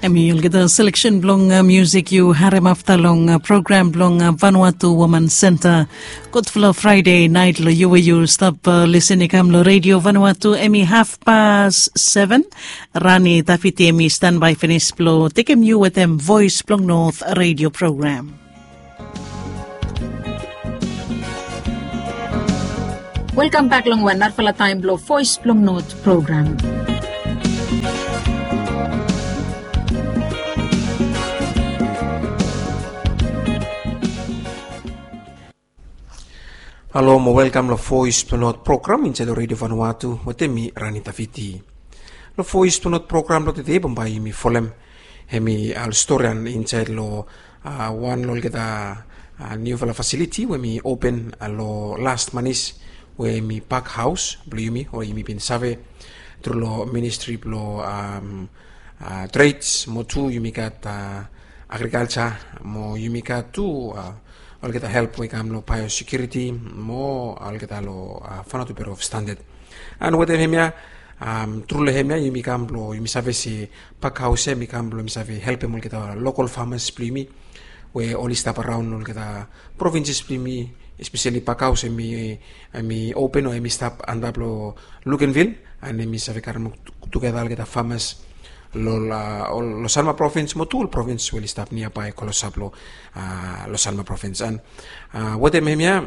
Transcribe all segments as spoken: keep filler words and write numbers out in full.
Hemi olgeta seleksen blong musik yu harem afta long program blong Vanuatu Woman Senta. Gudfala Fraide nait long yu we yu stap lisin i kam long Redio Vanuatu. Hemi hafpas seven. Rani Tafiti hemi stanbae finis blong tekem yu wetem Voes blong Not redio program. Welkam bek long wan narafala taem blong Voes blong Not program. Halo mo welkam long Voes blong Not program insaed long Redio Vanuatu wetem mi Rani Tafiti. Long Voes blong Not program blong tede bambae yumi folem hemi ol storian insaed long wan long olgeta niufala fasiliti we hemi open long las manis, we hemi pak haos blong yumi, o yumi bin save tru long ministri blong trades mo tu yumi gat agrikalja mo yumi gat tu olgeta help we i kam long baeosekiuriti mo olgeta long Vanuatu Bureau of Standard. An wetem hemia, tru long hemia yumi kam blong yumi save se pak haos ya hemi kam blong yumi save helpem olgeta lokal famas blong yumi we oli stap araon olgeta provinses blong yumi, espeseli pak haos hemi open o hemi stap antap long Luganville, an hemi save karem tugeta olgeta famas long Sanma provins mo tu ol provins we oli stap niabae klosap long Sanma provins. An wetem hemia,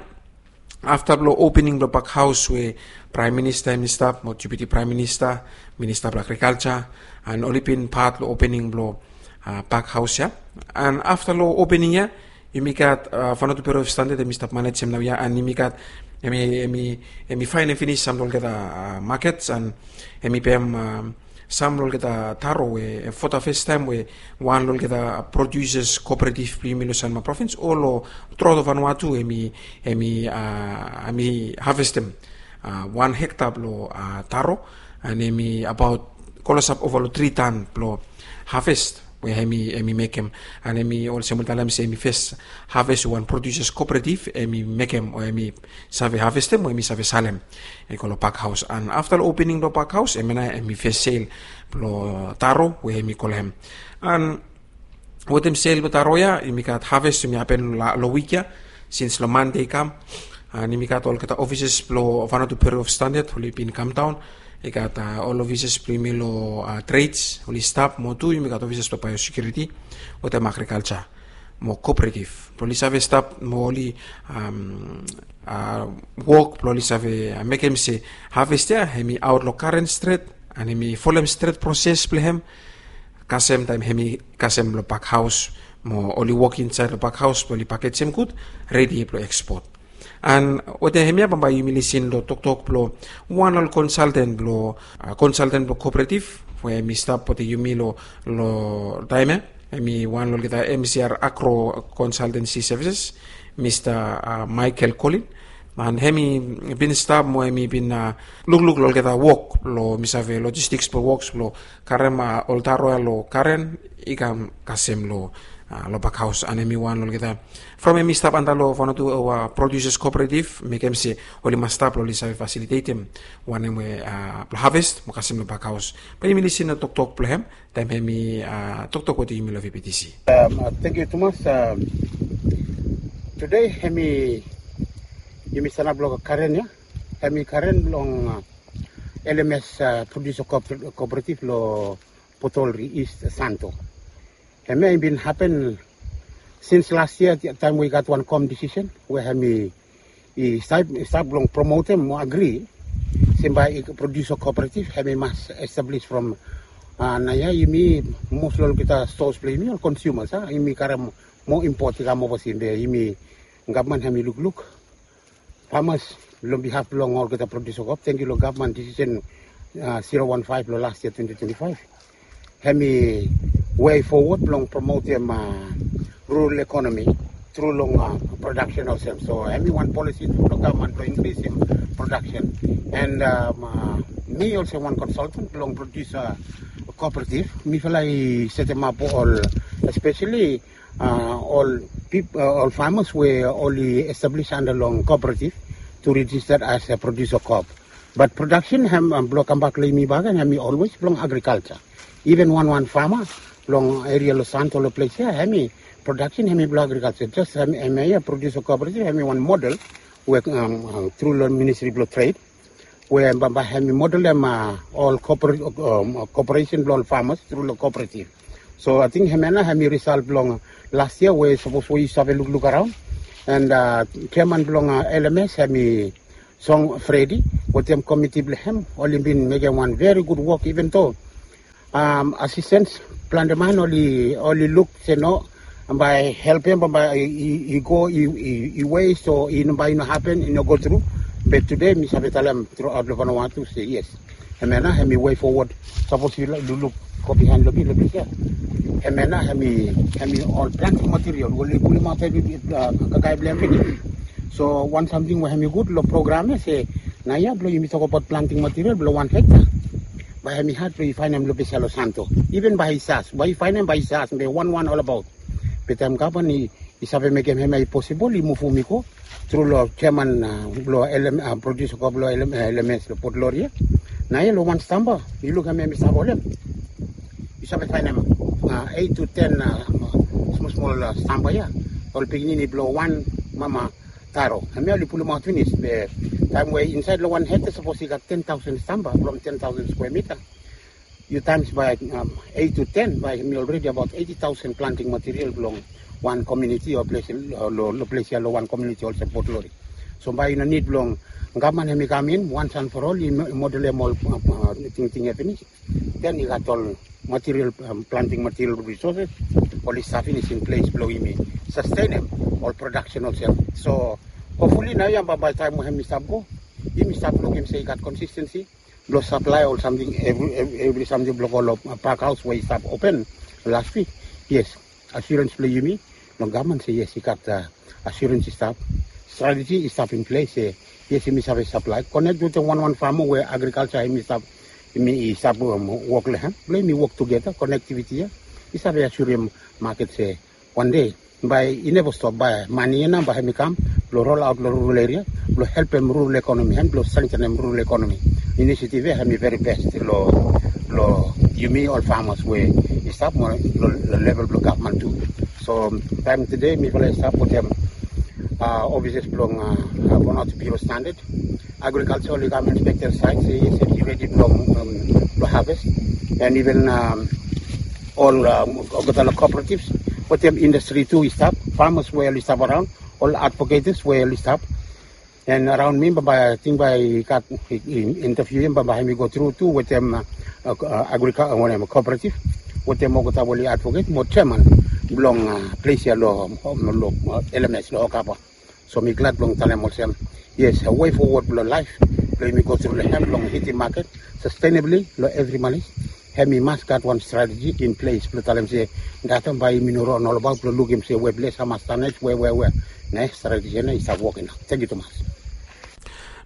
afta blong opening blong pak haos we Praem Minista hemi stap mo Deputi Praem Minista, Minista blong Agrikalja, an oli bin pat long opening blong pak haos ya. An afta long opening ya yumi gat Vanuatu Bureau of Standard hemi stap manejem naoia, an yumi gat hemi faenem finis sam long olgeta makets, an hemi pem sam long olgeta taro we, fo da fes taem we wan long olgeta produsas kooperatif blong yumi long Sanma provins o long troto Vanuatu hemi havestem wan hekta blong taro, an hemi abaot klosap ova long tri tan blong haves we hemi mekem. An hemi olsem oli talem se hemi fes haves we wan produsas kooperatif hemi mekem o hemi save havestem o hemi save salem i go long pak haos. An afta long opening blong pak haos hemia nao hemi fes sel blong taro we hemi go long hem. An wetem sel blong taro ya yumi gat haves hemi hapen long wik ya, sins long Mande i kam. An yumi gat olgeta ofisas blong Vanuatu Bureau of Standard oli bin kamdaon. I gat ol ofisas blong yumi long trades oli stap mo tu yumi gat ofisas blong baeosekiuriti wetem agrikalja mo kooperatif blong oli save stap mo oli wok blong oli save mekem se haves ya hemi aot long karen stret, an hemi folem stret proses blong hem kasem taem hemi kasem long pak haos mo oli wok insaed long pak haos blong oli pakejem gud, redi blong ekspot. An wetem hemia bambae yumi lisin long toktok blong wan ol konsalten blong konsalten blong kooperatif we hemi stap wetem yumi long taem ya. Hemi wan long olgeta M C R Agro Consultancy Services, Mista Michael Colin. An hemi bin stap mo hemi bin lukluk long olgeta wok blong mi save logistiks blong woks blong karem ol taro ya long karen i kam kasem long pak haos. An hemi wan long olgeta from hemi stap antap long Vanuatu Producers Cooperative mekem se oli mas stap long oli save fasilitetem wanem we blong haves mo kasem long pak haos. Bae yumi lisin long toktok blong hem taem hemi toktok wetem yumi long V P T C. Tangkiu tumas. Tude hemi yumi sanap long karen ya, hemi karen blong L M S Producer Cooperative long Port Olry East Santo. Hemia i bin hapen sins las yia taem we i gat wan kom disisen we hemi i stap blong promotem mo agri se bae i producer cooperative hemi mas establis from naoia. Yumi mos long olgeta stores blong yumi ol konsumas a yumi karem moa impot i kam ovasia be yumi gavman hemi lukluk famas long bihaf blong olgeta producer coop. Tangkiu long gavman disisen zero one five long las yia twenty twenty five. Hemi wei fowod blong promotem rural ekonomi tru long prodaksen olsem. So hemi wan polisi tru blong gavman blong inkrisim prodaksen. An mi olsem wan konsaltan blong produsa kooperativ, mifala i setemap ol espeseli ol famas we oli establis anda long kooperativ tu rijista as a produsa koop. Bat prodaksen hem blong kambak long yumi bakegen hemi olwes blong agrikalja. Iven wanwan fama long eria long Santo long ples ya, hemi prodaksen hemi blong agrikalsa. Jes hemi ia produsa kooperatif hemi wan model we tru long ministri blong tred we bambae hemi modelem ol kooperesen blong ol famas tru long kooperatif. So ating hemia nao hemi risal blong las yia we sapos we yu save lukluk araon. And jeman blong L M S hemi Song Fredi wetem komiti blong hem oli bin mekem wan veri gud wok, even though asistens plante man oli luk se no, bae help ya bae i go i wes o i no bae i no hapen, i no go tru. Be tude mi save talem truaot long Vanuatu se yes, hemia nao hemi wei fowod. Sapos yu luk go bihaen long mi long ples ya, hemia nao hemi ol planting material we oli pulimaot evri kakae blong hem finis. So wan samting we hemi gud long program ya se naoia blong yumi tokbaot planting material blong wan hekta, bae hemi had blong yu faenem long ples ya long Santo. Even bae i sas, bae yu faenem bae i sas be wanwan olbaot. Be taem gavman i save mekem hemia i posibol i muvum i go tru long jeman blong produsa koa blong L M S long Port Lori ya. Naoia long wan stamba yu luk hemia mi save holem, yu save faenem eit tu ten smol smol stamba ya, ol pikinini blong wan mama taro. Hemia oli pulimaot finis. Be taem we insaed long wan hekta sapos i gat ten taosen stamba from ten taosen skwea mita, yu taems bae eit tu ten, bae hemi olredi abaot eiti taosen planting material blong wan komuniti o ples long ples ya long wan komuniti olsem Port Lori. So bae i no nid blong gavman hemi kam in once and for all i modelem ol tingting ya finis. Den i gat ol material, planting material resources oli stap finis in ples blong yumi sastenem ol prodaksen olsem. So hopfuli naoia bambae taem we hemi stap go, yumi stap lukim se i gat konsistensi blong saplae ol samting, evri samting blong go long pak haos we i stap open las wik. Yes, asurens blong yumi long gavman se yes i gat asurens i stap, strateji i stap in ples se yes yumi save saplae, konek wetem wanwan fama we agrikalsa hemi stap, yumi i stap wok long hem blong yumi wok tugeta, konektiviti ya i save asurim maket se wan dei bae i neva stop, bae mane ya nao bae hemi kam blong rolaot long rural eria blong helpem rural ekonomi and blong strengtenem rural ekonomi. Inisiativ ya hemi veri bes long yumi ol famas we i stap mo long level blong gavman tu. So taem tede mifala i stap wetem ofises blong Vanuatu Bureau Standard, agrikalsa oli kam inspektem saet se yes hemi redi blong haves. And iven ol olgeta long kooperativs wetem indastri tu i stap, famas we oli stap araon, ol advoketis we oli stap. And araon mi bambae ating bae i gat intaviu ya bambae hemi go tru tu wetem agrika wanem kooperativ wetem olgeta we oli advoket mo jeman blong ples ya long L M S long Okapa. So mi glad blong talem olsem yes, wei fowod blong laef blong yumi go tru long hem blong hitim maket sastenabli long evri manis. Hemi mas gat wan strateji in ples blong talem se datem bae yumi no ron olbaot blong lukim se we ples hamas tanes we we we ne strateji ya nao i stap wok inap. Tangkiu tumas.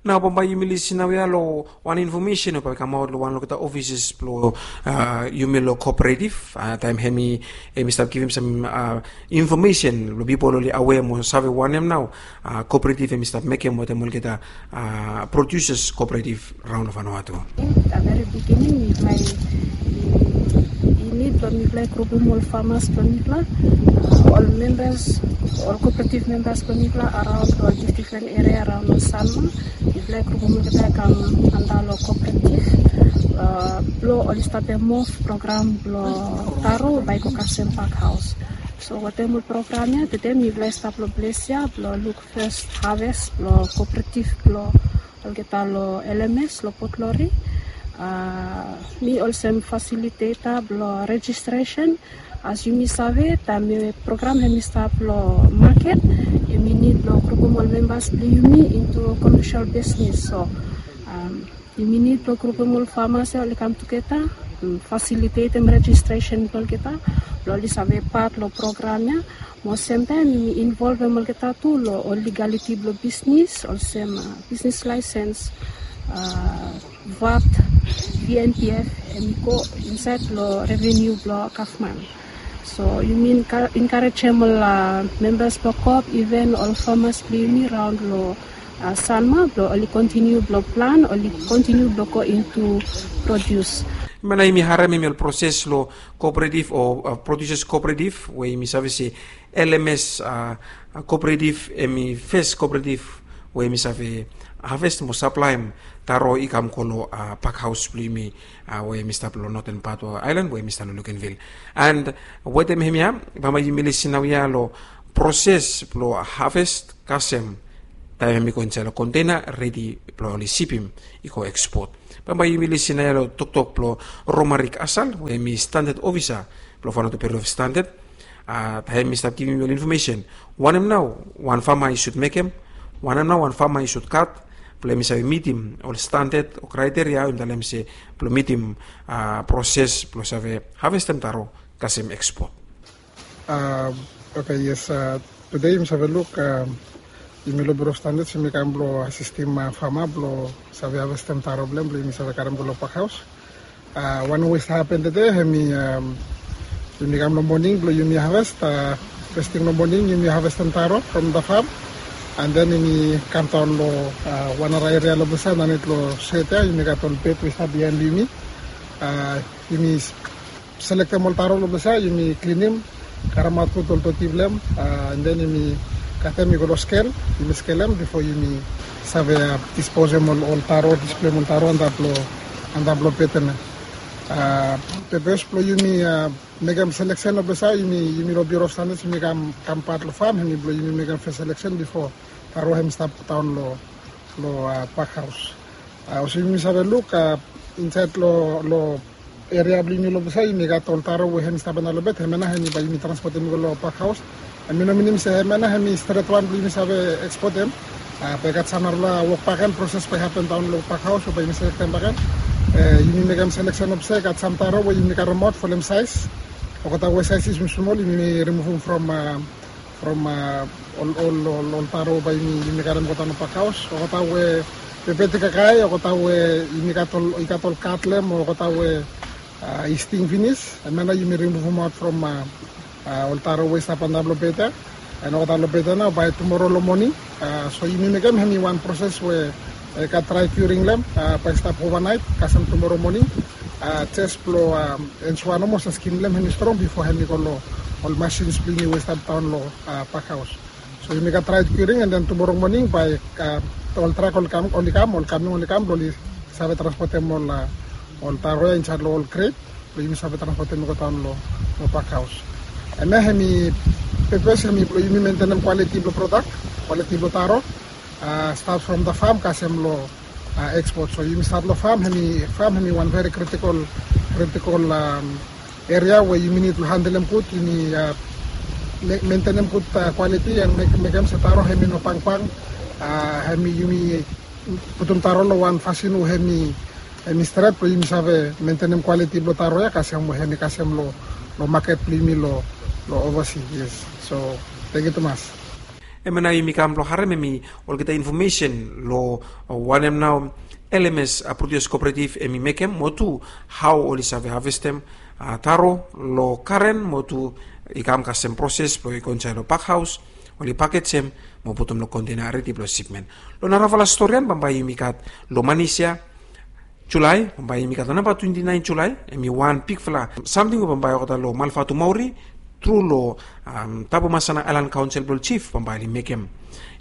Nao bambae yumi lisin naoia long wan infomesen we bae i kamaot long wan olgeta ofises blong yumi long kooperativ taem hemi hemi stap givim sam infomesen blong pipol oli awea mo save wanem nao kooperativ hemi stap mekem wetem olgeta produsas kooperativ raon long Vanuatu. Veri biginin mifala i nid blong mifala i grupum ol famas blong mifala, ol membas, ol kooperativ membas blong mifala araon long ol difren eria araon long Sanma. Mifala i grupum olgeta i kam anda long kooperativ blong oli stap muv program blong taro bae i go kasem pak haos. So wetem ol program ya tede mifala i stap long ples ya blong luk fes haves blong kooperativ blong olgeta long L M S long Port Lori. Mi olsem fasiliteta blong rejistresen. As yumi save taem program hemi stap long maket, yumi nid blong grupum ol membas blong yumi intu komesel bisnis. So yumi nid blong grupum ol famas ya oli kam tugeta, fasilitetem rejistresen blong olgeta blong oli save pat long program ya. Mo semtaem yumi involvem olgeta tu long ol ligaliti blong bisnis olsem bisnis laesens, vat, V N P F, hemi go insaed long reveniu blong gavman. So yumi enkarejem ol membas blong koop, iven ol famas blong yumi raon long Sanma blong oli kontiniu blong plan, oli kontiniu blong go intu produs. Hemia nao yumi harem hemi ol proses lo kooperatif o producers kooperatif we yumi save se L M S kooperatif, hemi fes kooperatif we yumi save haves mo saplaem taro i kam go lo pakhaos blong yumi we hemi stap lo noten pat o aelan we hemi stap lo Lukenvil. And wetem hemia bambae yumi lisin naoia lo proses blong haves kasem taem hemi go insaed lo kontena redi blong oli sipim i go ekspot. Bambae yumi lisin naoia lo toktok blong Romarik Asal we hemi standad ofisa blong Vanuatu Bureau of Standard. Taem hemi stap givim ol infomesen wanem nao wan fama i sud mekem, wanem nao wan fama i sud gat blong hemi save mitim ol standad o kraeteria we yumi talem se blong mitim proses blong save havestem taro kasem ekspot. Oke, yes. Tude yumi save luk yumi lo Bureau of Standards yumi kam blong asistim fama blong save havestem taro blong hem blong yumi save karem go lo pakhaos. Wanem we i stap hapen tude hemi yumi kam lo moning blong yumi haves. Fes ting lo moning yumi havestem taro from the farm, and then yumi kam daon lo wan nara eria lo ples ya, nanit lo set ya yumi gat ol bed we i stap biaen blong yumi. Yumi selektem ol taro lo ples ya, yumi klinim, karemaot gud ol doti blong hem, and then yumi katem i go lo skel, yumi skelem bifo yumi save disposem ol taro, displeim ol taro antap lo antap lo bed ya. Pepes blong yumi mekem seleksen lo ples ya, yumi lo Bureau of Standards yumi kam kam pat lo fam, hemi blong yumi mekem fes seleksen bifo taro hem stap daon lo lo pakhaos. Olsem yumi save luk insaed lo lo eria blong yumi lo ples ya yumi gat ol taro we hem i stap antap lo bed, hemia nao hemi bae yumi transpotem i go lo pakhaos. Hemi no minim se hemia nao hemi stret wan blong yumi save ekspotem. Bae i gat sam narafala wok bakegen, proses bae i hapen daon lo pakhaos we bae yumi selektem bakegen. Yumi mekem seleksen lo ples ya i gat sam taro we yumi karemaot folem saes. Olgeta we saes i smol smol yumi rimuvum from from ol ol ol taro bae yumi karem go daon lo pakhaos. Olgeta we bebet i kakae, olgeta we yumi gat ol i gat ol gat long hem, olgeta we i sting finis, hemia nao yumi rimuvumaot from ol taro we i stap antap lo bed ya. And olgeta lo bed ya nao bae tumoro lo moning. So yumi mekem hemi wan proses we i gat dry curing long hem, bae i stap ovanaet kasem tumoro moning. Jes blong ensua nomo se skin blong hem hemi strong bifo hemi go lo ol masins blong yumi we i stap daon lo pakhaos. So yumi gat dry curing, and then tumoro moning bae ol trak oli kam, oli kam, ol kaming oli kam blong oli save transpotem ol ol taro ya insaed lo ol kret blong yumi save transpotem i go daon lo pakhaos. Hemia hemi pepes hemi blong yumi mentenem kwaliti blong prodak, kwaliti blong taro, stat from the farm kasem lo ekspot. So yumi stat lo fam, hemi fam hemi wan veri kritikol kritikol eria we yumi nid lo handelem gud, yumi mentenem gud kwaliti and mekem se taro hemi no bangbang. Hemi yumi putum taro lo wan fasin we hemi hemi stret blong yumi save mentenem kwaliti blong taro ya kasem we hemi kasem lo lo maket blong yumi lo lo ovasi. Yes. So tangkiu tumas. Hemia nao yumi kam blong harem hemi olgeta infomesen lo wanem nao L M S Produce Cooperative hemi mekem mo tu hao oli save havestem taro lo karen mo tu i kam kasem proses blong i go insaed lo pakhaos, oli pakejem mo putum lo kontena redi blong sipmen. Lo narafala storian bambae yumi gat lo Manis ya, Julae, bambae yumi gat lo namba twenti naen Julae, hemi wan bigfala samting we bambae olgeta lo Malvatumauri tru lo Tabemasana Aelan Kaonsel blong ol jif bambae oli mekem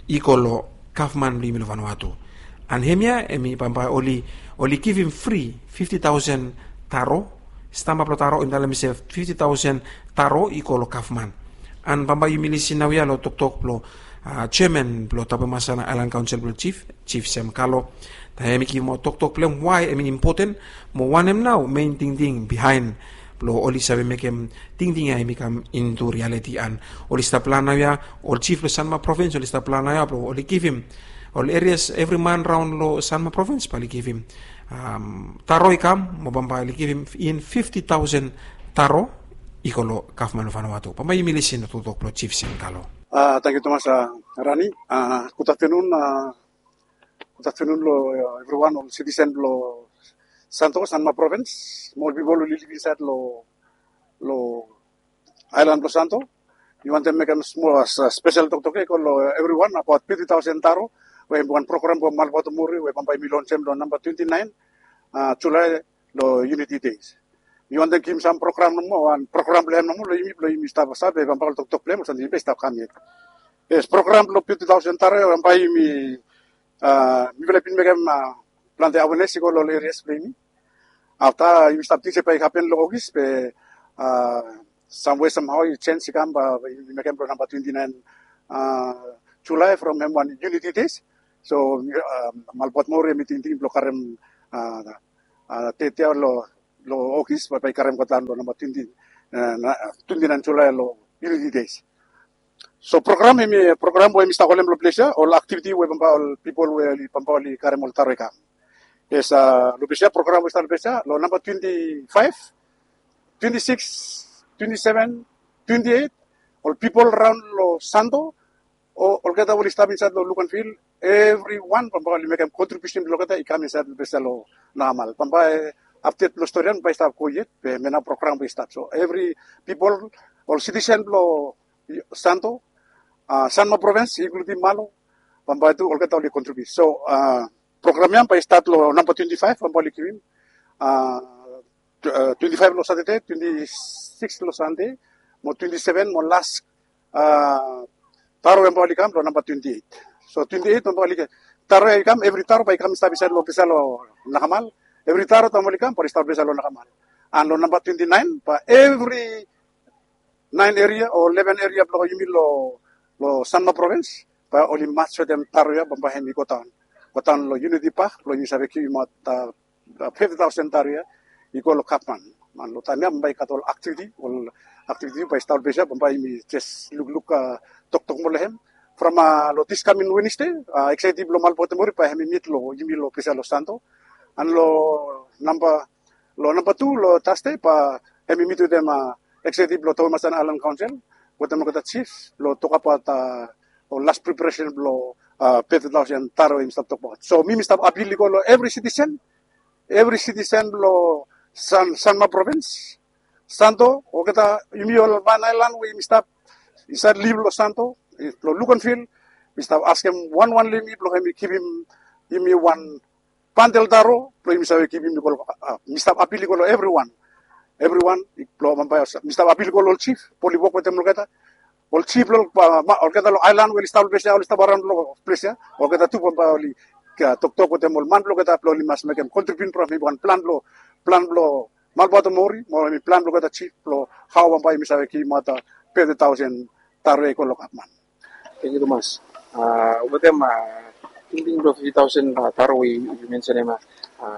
i go lo gavman blong yumi lo Vanuatu. And hemia hemi bambae oli oli givim fri fifti taosen taro, stamba blong taro hemi talem se fifti taosen taro i go lo gavman. And bambae yumi lisin naoia lo toktok blong jeaman blong Tabemasana Aelan Kaonsel blong ol jif, Jif Sem Kalo. Taem hemi givimaot toktok blong hem wae hemi impoten mo wanem nao mein tingting bihaen blong oli save mekem tingting ya hemi kam intu rialiti. And oli stap plan naoia, ol jif blong Sanma Provins oli stap plan naoia blong oli givim ol erias evri man raon lo Sanma Provins bae oli givim taro i kam mo bambae oli givim in fifti taosen taro i go lo gavman blong Vanuatu. Bambae yumi lisin lo toktok blong Jif Sem Kalo. Tangkiu tumas Rani. Gud aftenun. Gud aftenun lo evriwan ol sitisen blo Santo, Sanma Provins, mo ol pipol oli liv insaed lo lo aelan blo Santo. Mi wantem mekem smol spesel toktok ya i go lo evriwan abaot fifti taosen taro, we hem wan program blo Malvatumauri we bambae yumi lonsem lo namba twenti naen Julae long Unity Days. Mi wantem givim sam program nomo, wan program blong hem nomo long yumi, blong yumi stap save bambae ol toktok blong hem ol samting i stap kam yet. Yes, program blong fifty thousand taro ya bambae yumi, a, mifala i bin mekem, a, plante awareness i go long ol areas blong yumi. Afta yumi stap ting se bae i hapen long Ogis be, a, samwe samhao i sens i kam, a, yumi mekem long namba twenty nine, a, Julai from hem wan Unity Days. So, a, Malbuat Maori hemi tingting blong karem, a, a, deit ya long, long Ogis bae, bae i karem godaon long namba twenty, a, na, twenty nine Julai long Unity Days. So program hemi, program we hemi stap holem long ples ya, ol aktiviti we bambae ol pipol we oli bambae oli karem ol taro i kam. Yes, a, long ples ya, program we i stap long ples ya, long namba twenty five, twenty six, twenty seven, twenty eight, ol pipol raon long Santo, o, olgeta we oli stap insaed long Luganville, evriwan bambae oli mekem kontribiusen blong olgeta i kam insaed long ples ya long Nakamal. Bambae apdet blong stori ya bae i stap go yet, be hemia nao program bae i stat. So evri pipol, ol sitisen blong Santo, a, Sanma Provins, inkludim Malo, bambae tu olgeta oli kontribiut. So, a, program ya bae i stat long namba twenty five, bambae oli givim, a, tw-, a, twenty five long Satade, twenty six long Sande, mo twenty seven mo las, a, taro ya bambae oli kam long namba twenty eight. So twenty eight bambae oli ke-, taro ya i kam, evri taro bae i kam i stap insaed long ples ya long Nakamal. Evri taro taem oli kam bae oli stap ples ya long Nakamal. An long namba twenty nine bae evri nine eria o eleven eria blong yumi long, long Sanma Provins bae oli mas wetem taro ya bambae hemi godaon, godaon long Unity Park blong yumi save givim aot, a, a, fifty thousand taro ya i go long Gavman. An long taem ya bambae i gat ol aktiviti, ol aktiviti bae i stap long ples ya bambae yumi jes lukluk, a, toktok moa long hem. From, a, long dis kamin Wenesde, a, eksekiutiv blong Malbuat Maori bae hemi mit long yumi long ples ya long Santo. An long namba, long namba tu long Tasde bae hemi mit wetem, a, eksekiutiv blong Tauhemasani Aelan Kaonsel wetem olgeta jif blong tokbaot, a, ol las preparesen blong, a, fifty thousand taro hemi stap tokbaot. So mi mi stap apil i go long evri sitisen, evri sitisen blong San, Sanma Provins, Santo, olgeta yumi ol man aelan we yumi stap insaed liv long Santo, long Luganville, mi stap askem wanwan long yumi blong hemi givim yumi wan bandel taro blong yumi save givim i go long, a, mi stap apil i go long evriwan. Evriwan, i, blong bambae, mi stap apil i go long ol jif blong oli wok wetem olgeta. Ol jif blong, a, ma-, olgeta long aelan we oli stap long ples ya, oli stap araon long ples ya, olgeta tu bambae oli, a, toktok wetem ol man blong olgeta blong oli mas mekem kontribiusen from hemi wan plan blong, plan blong Malbuat Maori mo hemi plan blong olgeta jif blong hao bambae yumi save givimaot fifty thousand taro ya i go long Gavman. Tangkiu tumas. A, wetem, a, tingting blong fifty thousand, a, taro we yu mensenem, a,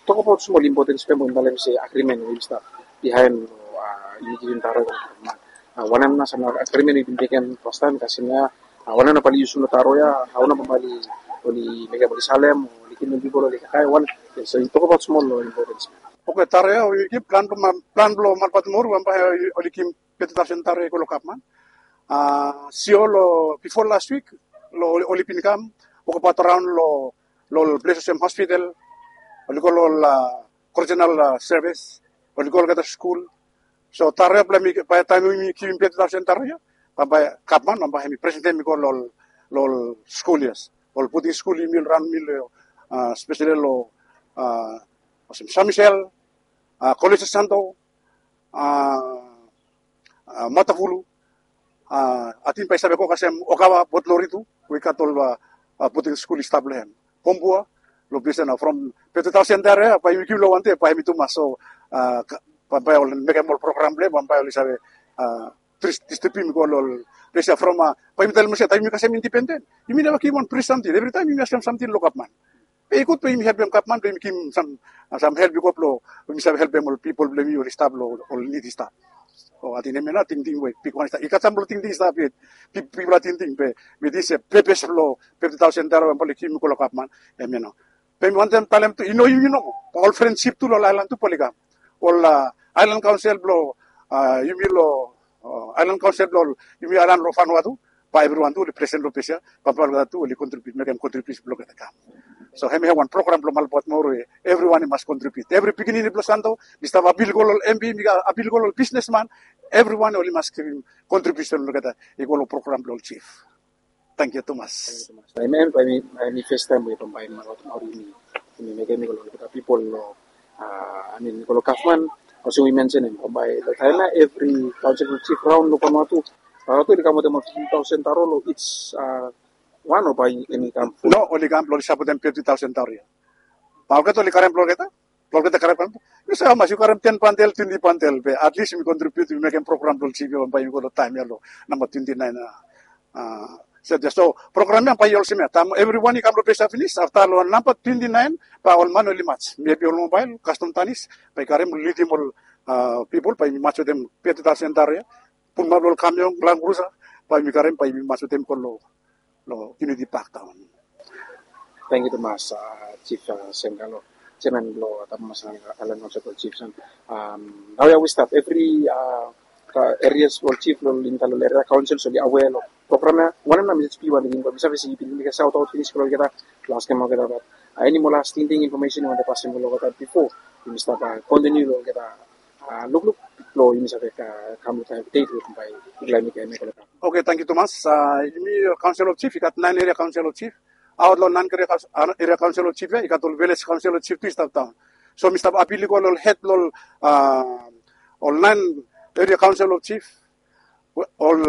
tokbaot smol impotens blong hem, we yumi talem se agrimen we yumi stap bihaen, a, yumi givim taro ya. A, wanem nao sam agrimen we yumi bin mekem fastaem, kasem ya, a, wanem nao bae oli yusum long taro ya, hao nao bae oli, oli mekem, oli salem, oli givim pipol oli kakae, wanem, so yu tokbaot smol long impotens. Oke, taro ya we yumi givim, plan blong, plan blong Malbuat Maori bambae oli givim fifty thousand taro ya i go long Gavman. A, sio long bifo las wik, long oli, oli bin kam wokbaot raon long, long ples olsem hospital, oli go long, a, correctional, a, service, oli go long olgeta skul. So taro ya blong mi, bae taem yumi givim fifty thousand taro ya, bambae Gavman bambae hemi presentem i go long, long skul, yes. Ol boarding skul yumi raon yumi long, a, speseli long, a, olsem San Michel, a, College Santo, a, a, Matavulu, a, ating bae i save go kasem Ogawa, Port Lori tu, we i gat ol, a, a, boarding skul i stap long hem. Kombua, long ples ya nao from fifty thousand taro ya bae yumi givim long wan dei, bae hemi tumas. So, a, ka-, bambae oli mekem ol program blong hem, bambae oli save, a, dis-, distribiutem i go long ol ples ya from, a, bae yumi talem olsem taem yumi kasem indipenden, yumi neva givim wan fri samting. Evritaem yumi askem samting long Gavman. Be i gud blong yumi helpem Gavman blong yumi givim sam, sam help i go blong yumi save helpem ol pipol blong yumi oli stap long ol nid i stap. O, ating hemia nao tingting we bigwan i stap. I gat sam blong tingting i stap yet. Pip-, pipol i tingting be, be dis, e, pepes blong fifty thousand taro we bambae oli givim i go long Gavman, hemia nao. Be mi wantem talem tu, i no yumi nomo, bae ol frensip tu long ol aelan tu bae oli kam. Ol, a, aelan kaonsel blong, a, yumi long, a, aelan kaonsel blong yumi aelan long Vanuatu, bae evriwan tu oli presen long ples ya, bambae olgeta tu oli kontribiut, mekem kontribiusen blong olgeta kam. So hemia wan program blong Malbuat Maori we evriwan i mas kontribiut. Evri pikinini blong Santo, mi stap apil i go long ol MP, mi apil i go long ol bisnesman, evriwan oli mas givim kontribiusen blong olgeta i go long program blong ol jif. Tangkiu tumas. Tangkiu tumas. Hemia, hemia, hemi fastaem we bambae Malbuat Maori yumi, yumi mekem i go long olgeta pipol long, Amin, i go long gavman, olsem we i mensenim, bae long taem ya evri kaonsel blong jif raon long Vanuatu, Vanuatu oli kam wetem ol fifti taosen taro long each wan, o bae hemi kam ful? No, oli kam blong oli sapotem fifti taosen taro ya. Bae olgeta oli karem blong olgeta, blong olgeta karem, karem. Yu save hamas yu karem ten bantel, twenti bantel, be at least yumi kontribiut, yumi mekem program blong jif ya bae yumi go long taem ya long namba twenti naen. So program ya bae i olsem ya, taem evriwan i kam long ples ya finis, afta long namba twenti naen bae ol man oli maj, mebi ol mobael, kastom tanis, bae i karem, lidim ol pipol, bae yumi maj wetem fifti taosen taro ya, pulumap long ol kamion, Land Cruiser, bae yumi karem, bae yumi maj wetem go long, long Unity Park taon. Tangkiu tumas, Jif Semkalo, jeaman blong Tabemasana Aelan Kaonsel blong Jifs. Naoia wi stap evri erias blong jif long insait long eria kaonsel oli aware long program ya. Wanem nao mesej blong yu wan, mi save se yumi saotaot finis long olgeta, long askem olgeta, bat eni moa las tingting, infomesen yu wantem pasem long olgeta bifo yumi stap kontiniu long olgeta lukluk blong yumi save kam long taem deit we bae yumi laek mekem ya. Oke, tangkiu tumas. Yumi kaonsel of jif i gat naen eria kaonsel of jif. Aot long naen eria kaonsel of jif ya i gat ol vilej kaonsel of jif tu i stap daon. So mi stap apil i go long ol hed blong ol naen eria kaonsel of jif, ol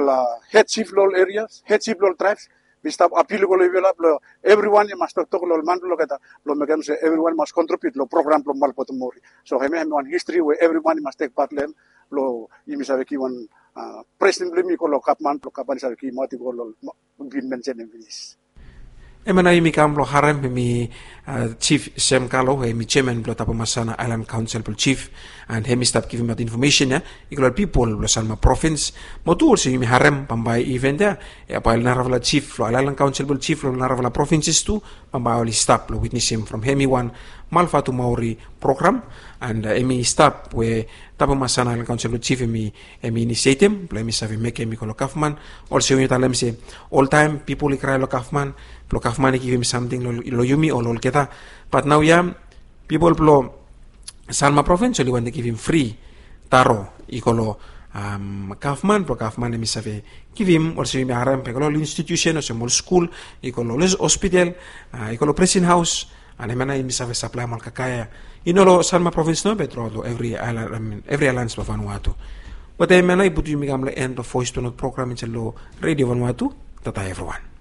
hed jif long ol erias, hed jif long ol traebs. Mi stap apil i go long yufala blong evriwan i mas toktok long ol man blong olgeta blong mekem se evriwan i mas kontribiut long program blong Malbatomori. So hemia hemi wan histri we evriwan i mas tek pat long hem blong yumi save givim wan blesing blong yumi i go long gavman blong gavman i save givimaot i go long, bin mensenim finis. Hemia nao yumi kam blong harem hemi Jif Semkalo, hemi jeaman blong Tabemasana Aelan Kaonsel blong Jif, and hemi stap givimaot infomesen ya i go long ol pipol blong Sanma Provins. Mo tu olsem yumi harem bambae iven ya, ya bae ol narafala jif long Aelan Kaonsel blong Jif long narafala provinses tu, bambae oli stap blong witnesim from hemi wan Malbatomori program, and hemi stap we Tabemasana Aelan Kaonsel blong Jif hemi hemi inisietem blong hemi save mekem i go long gavman. Olsem we yumi talem se oltaem pipol i krae long gavman blong gavman i givim samting long yumi o long olgeta. Bat naoia pipol blong Sanma Provins oli wantem givim fri taro i go long gavman blong gavman hemi save givim, olsem yumi harem, i go long ol institusen olsem ol skul, i go long ol hospital, i go long prison haos, and hemia nao yumi save saplaem ol kakae ya i no long Sanma Provins nao be truaot long evri aelan blong Vanuatu. Wetem hemia nao i putum yumi kam long en blong Voice to North program insait long Redio Vanuatu. Tata evriwan.